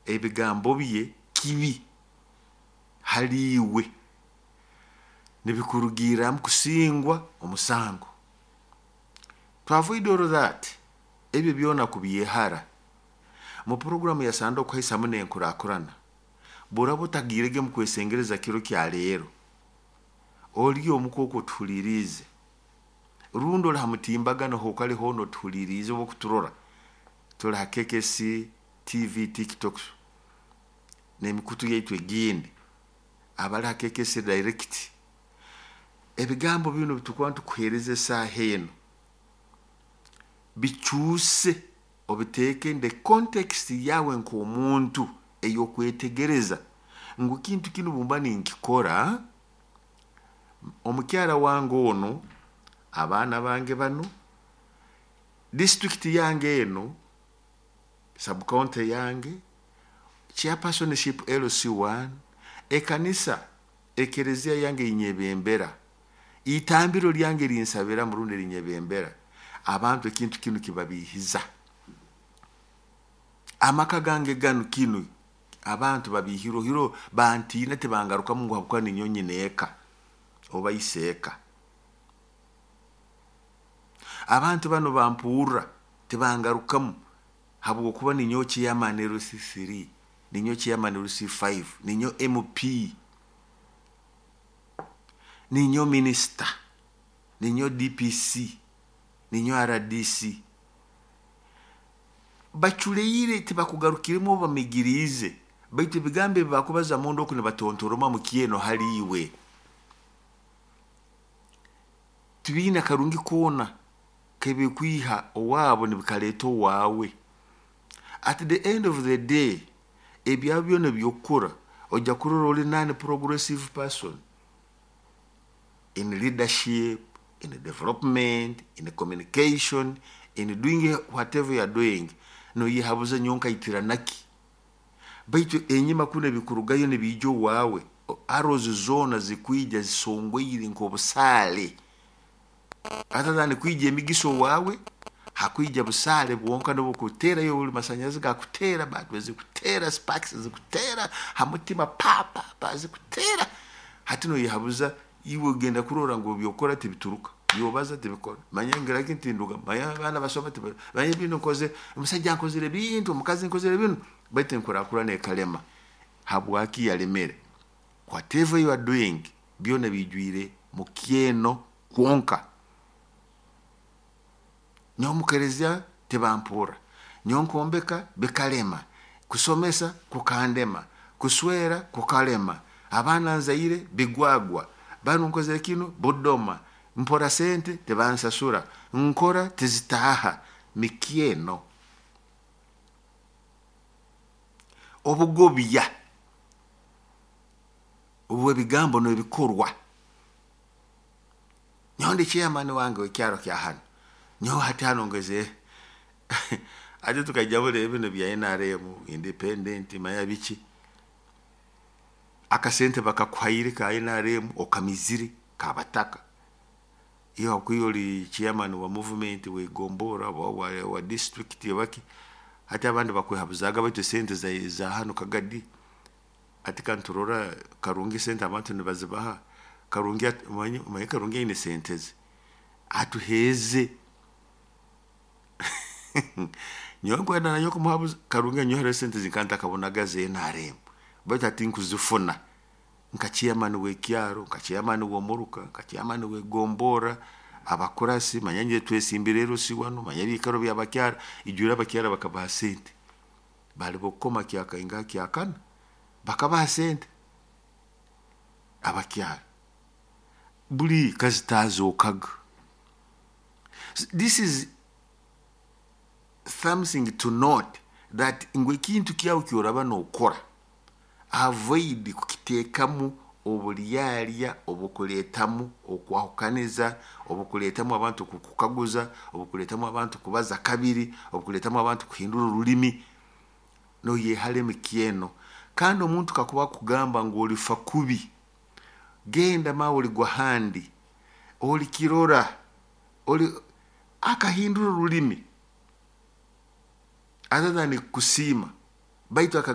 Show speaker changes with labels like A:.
A: Ebigambo bye kibi hali iwe, nibikurugirramu kusingwa omusango. To avoid all that, ebyo byona kubyehara, mu puroguramu ya Sande okuhaisa hamu n'enkurakurana, bworaba otagiirege mu kwesengereza kiro kya leero, oli omuka oku otuhuliiriize, rundi oli ha mutimbagano hookali hoona otuhuliiriize oba okuturora, tuli ha KKC TV, TikTok n'emikutu yaitu egindi, abali ha KKC Direct, ebigambo binu bitukuba nitukuheereza esaaha enu, bikyuse obiteeke in the context yawe nk'omuntu ey'okwetegereza ngu kintu kinu bumba ninkikora, omukyara wange onu, abaana bange banu, disitulikiti yange enu, sub-county yange, chairpersonship LC1, ekanisa, ekereziya yange yinyebembera, itambiro lyange linsabiramu rundi linyebembera, abantu ekintu kinu kibabiihiza. Amaka gange ganu kinu abantu babihirwe hiro bantiina tibangarukamu ngu habwokuba ninyowe nyina eka oba iseeka. Abantu banu bampurra tibangarukamu habwokuba ninyowe chairman LC3, ninyowe chairman LC5, ninyowe MP, ninyowe minisita, ninyowe DPC, ninyowe RDC. Baculeire tibakugarukiremu obu bamigiriize, baitu ebigambo ebi bakubaza munda oku nibatontoroma mukyeno hali iwe. Tibiine karungi koona kebikwiha owaabo nibikaleeta owaawe. At the end of the day, ebyawe byona ebyokukora ojja kurora oli non progressive person in leadership, in development, in communication, in doing whatever you are doing. Noyehabuza nyowe nkaitirana ki? Baitu enyima kunu ebikurugayo nibiija owaawe, arrows zoona zikwija zisongoire nk'obusaale. Other than kwija emigisa owaawe, hakwija busaale bwonka nibukuterayo buli masanyarazi gakuteera, battery zikuteera, sparks zikuteera, ha mutima pa pa pa zikuteera. Hati noyehabuza iwe ogenda kurora ngu ebyokukora tibituruka, byobaza tibikora, manya ngira ki ntinduga, manya abaana basoma manya binu nkoze, omusaija ankozere bintu, omukazi nkozere binu, baitu enkurakurana ekalema. Habwaki yalemere? Whatever you are doing, byona biijwire mukyeno kwonka. Nyowe omukereziya tibampurra, nyowe nkombeka bikalema, kusomesa kukandema, kuswera kukalema, abaana nzaire bigwagwa, banu nkozere kinu budoma, mpora sente tibansasura, nkora tizitaaha, mikyeno. Obugobya obw'ebigambo n'ebikorwa. Nyowe ndi chairman wange w'ekyaro kya hanu, nyowe hati hanu ngeze ate tukaija buli binu bya NRM, independent, manya biki, akasente bakakuhaire ka NRM okamizire kabataka. Iwe habwokuba oli chairman wa movement w'egombora oba wa district oba ki, hati abandi bakwehabuzaaga baitu esente za hanu Kagadi, hati kanturora Karungi esente abantu nibazibaha, Karungi omanye Karungi aine sente ze, atuheeze. Nyowe nkwenda nanyowe kumuhabuza, Karungi nyowe haroho esente ezi nkaba ntakabonaga za NRM, baitu hati nkuzifuna nka chairman w'ekyaro, nka chairman w'omuruka, nka chairman w'egombora, abakurasi manya nyowe twesimbire LC wanu, manya ebiikaro by'abakyara, ijwire abakyara bakabaha sente. Bali b'okukoma kyakaingaha kyakana, bakabaha sente abakyara. Buli kazitazookaga. This is something to note that ngu ekintu kyawe kyoraba nokora, avoid kukiteekamu oburyarya obukuleetamu okwahukaniza, obukuleetamu abantu kukukaguza, obukuleetamu abantu kubaza kabiri, obukuleetamu abantu kuhindura orulimi, noyehara emikyeno. Kandi omuntu kakuba akugamba ngu olifa kubi, genda maawe oligwa handi, olikirora, oli akahindura orulimi other than kukusiima, baitu akagamba.